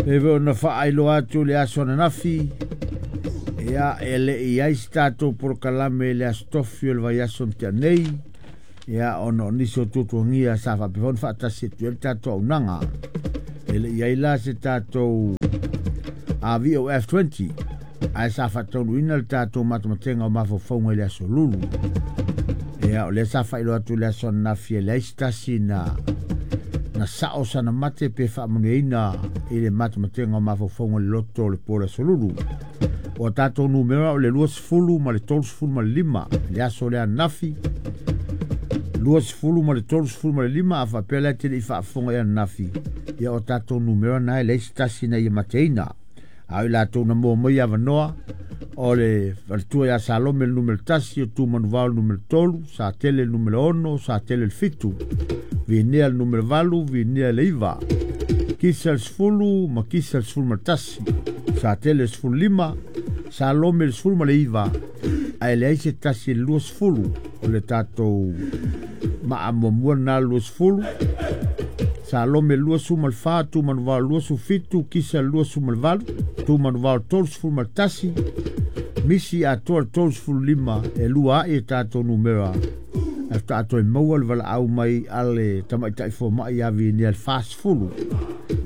E foi ona faailoa atu le aso ananafi, ia e le i ai se tatou polokalame i le aso tofi o le vaiaso na tea nei, ia ona o nisi o tuatuagia sa faapea foi ona faatasi atu ai le tatou auaunaga. E le i ai la se tatou VOF20, ae sa faataunuuina le tatou matamatega o mafaufauga i le aso Lulu. Ia o lea sa faailoa atu i le aso ananafi e leai se tasi na sao sana mate pe faamanuiaina i le matamatega o mafaufauga i le loto o le po o le aso Lulu. O tatou numera o le 20 ma le 35 le aso lea ananafi, 20 ma le 35, a faapea la e te le i faafofoga i ananafi, ia o tatou numera na e leai se tasi na ia mateina. A o i latou na mua mai avanoa, o le faletua ia Salome le numera 1, o Tumanuvao le numera 3, Satele le numera 6, Satele le 7, Vinea le numera 8, Vinea le 9, Kisa le 10 ma Kisa le 11, Satele le 15, Salome le 19, ae leai se tasi le 20 o le tatou maamuamua na le 20, Salome 24, Tumanuvao 27, Kisa 28, Tumanuvao 31, Misi atoa le 35, e lua ai e tatou numera. E tatou e maua le valaau mai ale tamaitai fomai ia Vinea le 40,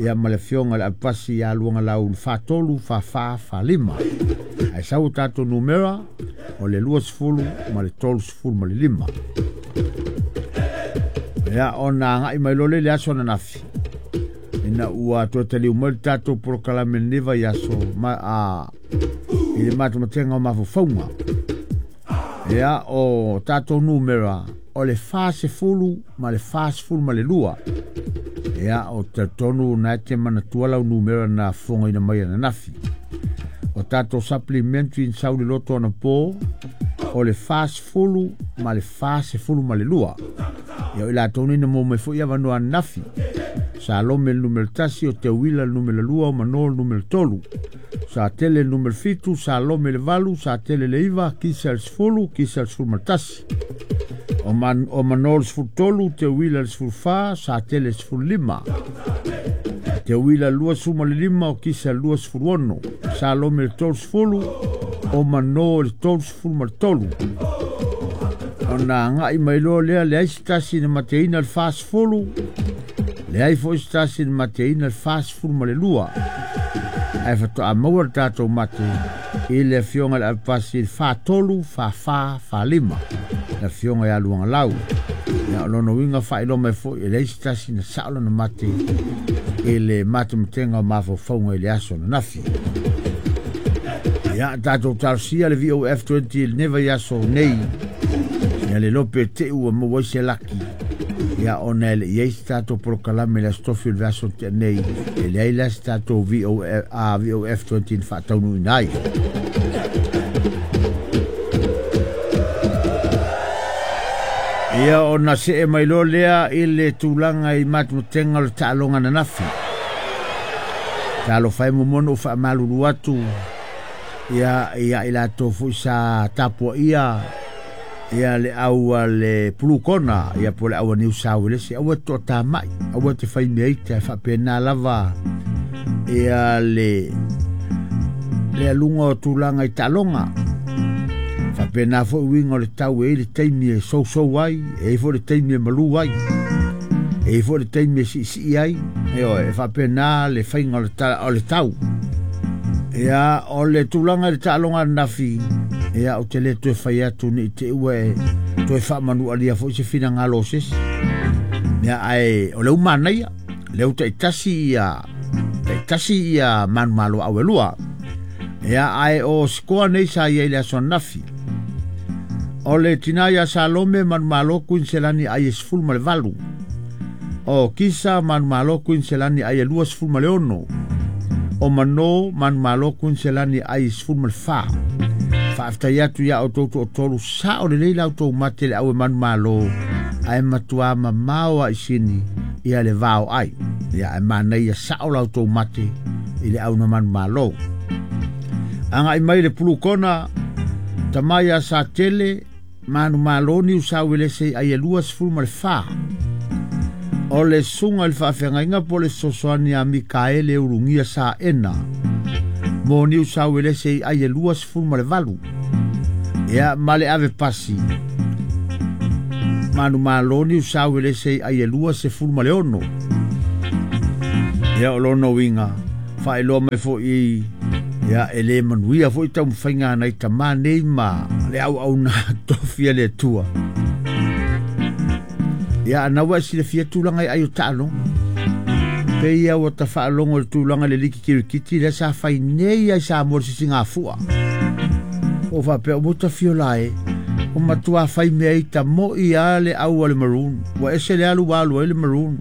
ia ma le afioga le Apasi ia Luaga Lau le 43, 44, 45. Ae sau o tatou numera o le 20 ma le 35. Ia ona agai mai loa le aso ananafi, ina ua toe taliu mai le tatou polokalame lenei vaiaso ma i le matamatega o mafaufauga. Ia o tatou numera o le 40 ma le 42. Ia o talitonu na e te manatua lau numera na fofogaina mai ananafi. O tatou supplementary sau le loto anapo o le 40 ma le 42. Ia o i latou nei na mua mai foi avanoa ananafi. Salome le numera 1, o Teuila le numera 2, o Mano le numera 3, Satele le numera 7, Salome le 8, Satele le 9, Kisa le 10, Kisa le 11, o Mano le 13, Teuila le 14, Satele le 15, Teuila le 25, o Kisa le 26, Salome le 30, o Mano le 33. Ona agai mai loa lea, leai se tasi na mateina le 40, leai foi se tasi na mateina le 42. Ae faatoa maua le tatou mate i le afioga i le Apasi le 43, 44, 45, le afioga ia Luaga Lau. Ia o lona uiga faailoa mai foi e leai se tasi na sao lona mate i le matamatega o mafaufauga i le aso ananafi. Ia tatou talosia le VOF20 i lenei vaiaso nei, ia le lope te ua maua ai se laki. Ia ona e le i ai se tatou polokalame le aso tofi o le vaiaso tea nei, e leai la se tatou VOF20 na faataunuuina ai. Ia ona see mai loa lea i le tulaga i matamatega o le taaloga ananafi. Talofa e muamua ona ou faamalulu atu ia i latou foi sa tapuaia ia le au a le Pulukona, ia po le au a Niu Sauelese, aua te toatamai, aua te fai mea ita, e faapena lava ia le aluga o tulaga i taaloga. Faapena foi uiga o le tau, e ai le taimi e sousou ai, e ai foi le taimi e malu ai, e ai foi le taimi e siisii ai, e faapena le faiga o le tau. Ia o le tulaga i le taaloga ananafi, ia o te le toe fai atu ni te ua e toe faamanualia foi se finagalo o sesi. Ia ae o le umanaia, le u taitasi ia manumalo au e lua. Ia ae o sikoa nei sa ia i le aso ananafi. O le tina ia Salome manumalo Kuiniselani ai e 18. O Kisa manumalo Kuiniselani ai e 26. O Mano manumalo Kuiniselani ai e 14. Faafetai atu ia o toutou o tolu sao lelei lau tou mate le au e manumalo, ae matua mamao a isini ia le vao ai. Ia e manaia sao lau tou mate i le au na manumalo. Agai mai le Pulukona, tamai a Satele manumalo Niu Sauelese ai e 24. O le suga i le faafeagaiga po o le fesoasoani a Mikaele Ulugia Saena mo Niu Sauelese i ai e 28. Ia ma le ave pasi manumalo Niu Sauelese i ai e 26. Ia o lona uiga faailoa mai foʻi ia e lē manuia foʻi taumafaiga nai tamā nei ma le auauna tofi a le Atua. Ia ana ua e silafia tulaga i ai o taaloga. Pe ia ua tafaalogo i le tulaga i le liki kirikiti lea sa fai nei ai Samoa i le sisigafua. O faapea ua tafiola e o matua fai mea i tamoʻi a le au a le Maroon. Ua ese le alu ua alu ai le Maroon.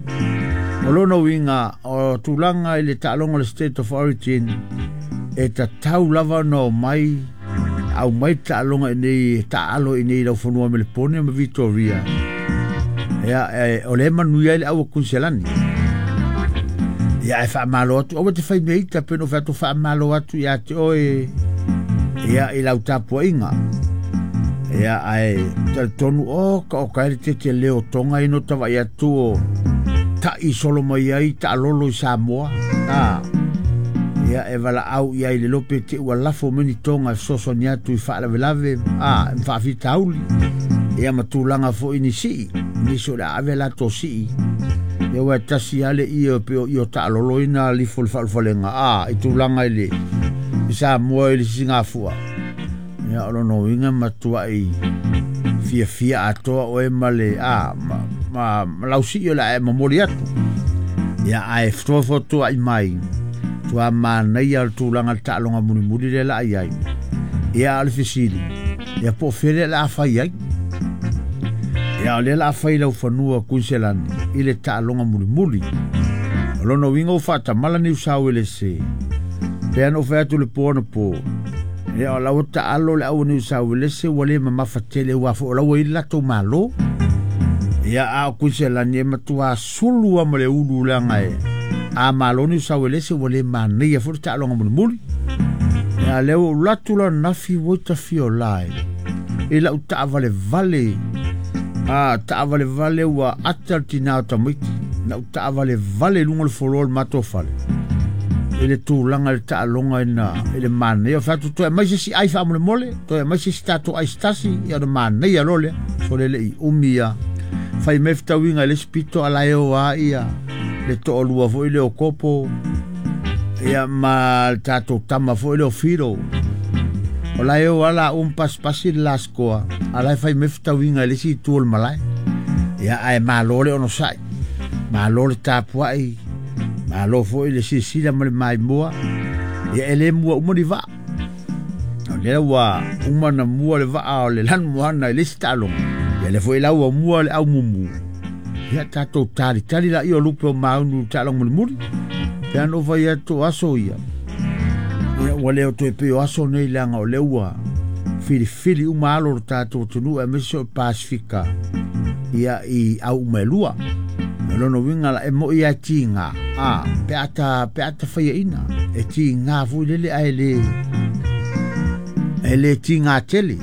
O lona uiga o tulaga i le taaloga o le State of Origin e tatau lava ona omai aumai le taaloga i nei taalo i nei i laufanua Melepone ma Victoria. Ia o le manuia ai le au o Kuiselani. Ia e faamalo atu aua te fai mea ita pe no fai atu faamalo atu ia te oe ia i lau tapuaiga. Ia ae talitonu o ka o ka le tete leo tonga i no tawai atu o taʻi solo mai ai taʻalolo i Samoa. Ia e valaau ia i le lope te ua lafo mai ni toga e fesoasoani atu i faalavelave a ma faafitauli. Ia ma tulaga foʻi ni sii nisi o le a ave latou sii. Ia ua e tasi lava le ie pe o io taʻalolo ina lifo le faalufalega a i tulaga i le i Samoa i le sisigafua. Ia o lona uiga matuaʻi fiafia atoa oe ma le a ma lau sii o le a e momoli atu. Ia ae fotuafotuaʻi mai tua manaia o le tulaga le taaloga mulimuli lea la ai ai. Ia o le fesili, ia po o fea lea la a fai ai. Ia o lea la a fai lau fanua Kuiselani i le taaloga mulimuli. O lona uiga ua faatamala Niu Sauelese. Pe ana ou fai atu le po anapo. Ia o lau taalo le au Niu Sauelese ua le mamafa tele ua fo o lau i le latou malo. Ia a o Kuiselani e matua sulu a ma le ulu leaga e a malo Niu Sauelese ua le manaia foʻi le taaloga mulimuli. Ia lea ua ou latu la nafi ua tafiola e i lau taavalevale a taavalevale ua ata le tinā o tamaiti lau taavalevale i luga o le foloa o le matou fale i le tulaga i le taaloga ina i le manaia o fai atu toe aumai se isi ai faamolemole toe aumai se isi tatou ai se tasi ia ona manaia loa lea so le leʻi umi ia fai mai fetauiga i le isi pito a lae o a ia le toalua foʻi lea o Kopo ia ma le tatou tama foʻi lea o Filo. O lae o ala pasipasi le laskoa a lae fai mai fetauiga i le isi itu o le malae. Ia ae malo le onosaʻi, malo le tapuaʻi, malo foʻi le silasila ma le maimoa. Ia e lē mua uma ni vaa. O lea ua uma na mua le vaa o le Lanumoana i le isi taaloga. Ia lea foʻi la ua mua le aumumu. Ia tatou talitali laia o lupe o maunu i le taaloga mulimuli. Pe ana ou fai atu o aso ia. Ia ua le o toe pei o aso nei leaga o lea ua filifili uma alo o le tatou atunuu aemaise o Pasifika ia i au uma e lua. O lona uiga la e moʻi lava e tiga a pe a ta faiaʻina e tiga foi lele ae le tiga tele.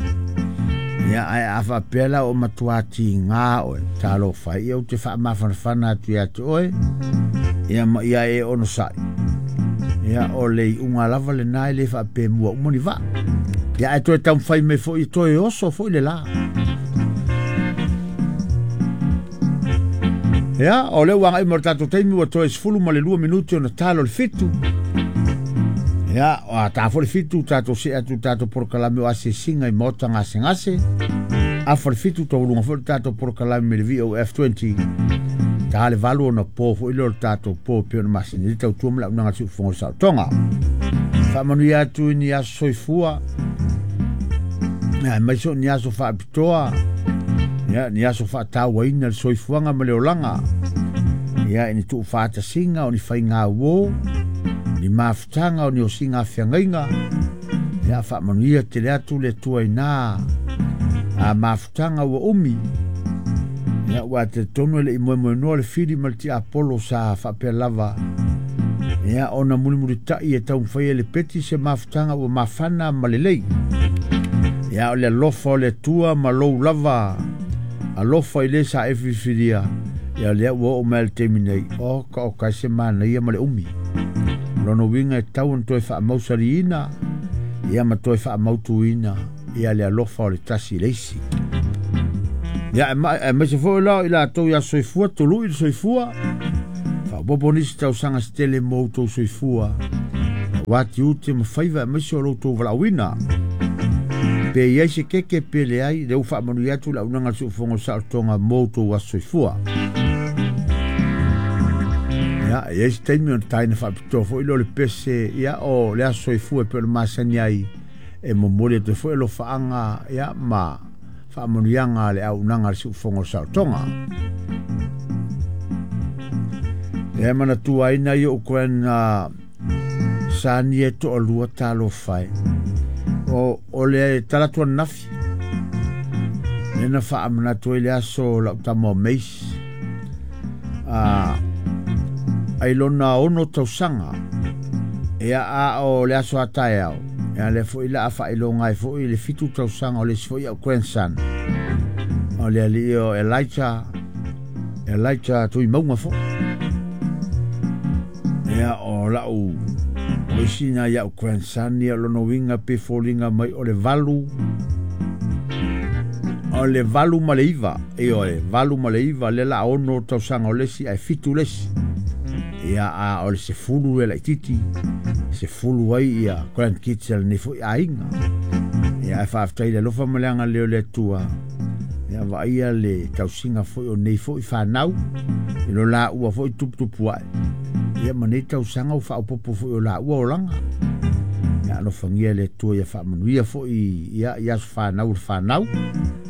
Ia ae a faapea la o matua tiga oe talofa ia ou te faamafanafana atu ia te oe ia ma ia e onosaʻi. Ia o le iuga lava lenā e lē faapemua uma ni vaa. Ia ae toe taumafai mai foʻi toe oso foʻi le lā. Ia o lea ua agai ma le tatou taimi ua toe 12 minuti ona talo le 7. Ia o a tā foʻi le 7 tatou see atu tatou polokalame o asiasiga i maota gasegase. Afa le 7 tauluga foʻi le tatou polokalame me le VOF20. Tā le 8 ona po foʻi lea o le tatou po pe ona masini le tautua ma le auaunaga a le siufofoga o le saotoga. Faamanuia atu i ni aso soifua. Ia aemaise o ni aso faapitoa. Ia ni aso faatauaina le soifuaga ma le olaga. Ia i ni tuufaatasiga o ni faigauō ni mafutaga o ni osiga afeagaiga. Ia faamanuia tele atu le Atua inā a mafutaga ua umi. Ia ua talitonu e leʻi moemoenoa le fili ma le tiapolo sa faapea lava. Ia ona mulimulitaʻi e taumafai ai le peti se mafutaga ua mafana ma lelei. Ia o le alofa o le Atua ma lou lava alofa i le sa e filifilia Ia lea ua oo mai le taimi nei, o ka o kai se manaia ma le umi. Lona uiga e tatau ona toe faamausaliina, ia ma toe faamautuina ia le alofa o le tasi i le isi. Ia aemaise foi la o i latou ia soifua, tului le soifua, faaopoopo nisi tausaga se tele mo outou soifua, aua tiute ma faiva aemaise o lo outou valaauina. Pe i ai se keke pe leai, lea ua faamanuia atu le auaunaga a le Siufofoga o le Saolotoga mo outou aso soifua. Ia, e i ai se taimi ona taina faapitoa foi lea o le pese, ia, o le aso soifua e pei ona masani ai, e momoli atu ai foi alofaaga, ia, ma faamanuiaga a le auaunaga a le Siufofoga o le Saolotoga. Ia, e manatua ai nai ou grand sani e toalua talofa e. O le talaatu ananafi, lea na faamanatu ai le aso o lau tama o Mace, ai lona 6 tausaga, ia a o le aso a taeao, ia lea foi la a faailoga ai foi le 7 tausaga o le isi foi au grandson, o le alii o Elijah, Elijah Tuimauga foi. Ia o lau o isi nai au grandson ia lona uiga pe foliga mai o le 8, o le 8 ma le 9, ioe, 8 ma le 9, le la 6 tausaga o le isi ae 7 le isi. Ia a o le 10 le laitiiti, 10 ai ia grandkids a lenei foi aiga. Ia ae faafetai le alofa ma le agalelei o le Atua. Ia vaaia le tausiga foi o nei foi fanau, i lo laua foi tuputupu ae. Ia ma nei tausaga ua faaopoopo foi o laua olaga. Ia alofagia le Atua ia faamanuia foi ia i aso fanau o le fanau.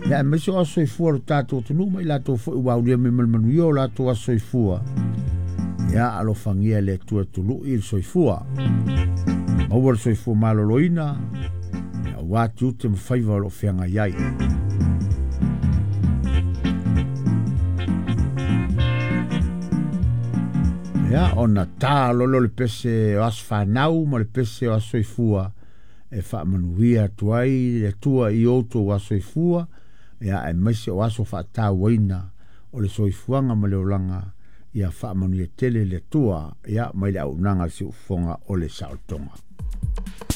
Ia aemaise o aso soifua o le tatou atunuu ma i latou foi ua aulia mai ma le manuia o latou aso soifua. Ia alofagia le Atua tului le soifua. Maua le soifua maloloina, ia aua tiute ma faiva o lo o feagai ai. Ia ona tā lolo le pese o aso fanau ma le pese o aso soifua e faamanuia atu ai le Atua i outou aso soifua, ia aemaise o aso faatauaina o le soifuaga ma le olaga, ia faamanuia tele le Atua, ia mai le auaunaga a le Siufofoga o le Saolotoga.